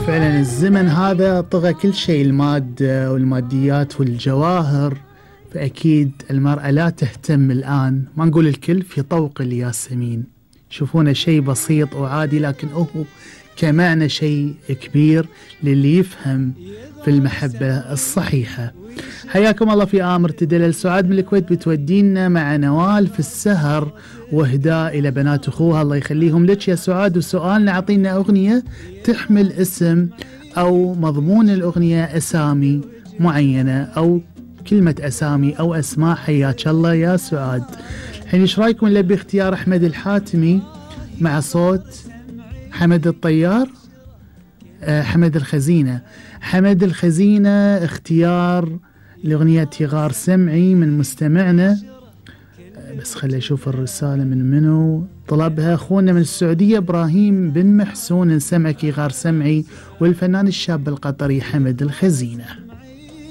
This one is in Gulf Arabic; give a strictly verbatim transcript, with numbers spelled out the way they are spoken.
فعلا الزمن هذا طغى كل شيء، المادة والماديات والجواهر، فأكيد المرأة لا تهتم الآن، ما نقول الكل، في طوق الياسمين يشوفونه شيء بسيط وعادي، لكن هو كمعنى شيء كبير للي يفهم في المحبة الصحيحة. حياكم الله في آمر تدلل. سعاد من الكويت بتودينا مع نوال في السهر وإهداء إلى بنات أخوها، الله يخليهم لك يا سعاد. وسؤالنا أعطينا أغنية تحمل اسم أو مضمون الأغنية أسامي معينة أو كلمة أسامي أو أسماء. حياك الله يا سعاد. الحين إيش رايكم نلبي اختيار أحمد الحاتمي مع صوت حمد الطيار؟ أه حمد الخزينة. حمد الخزينة اختيار لأغنية غار سمعي من مستمعنا. أه بس خلي أشوف الرسالة من منو طلبها. أخونا من السعودية إبراهيم بن محسون، نسمعك غار سمعي، والفنان الشاب القطري حمد الخزينة.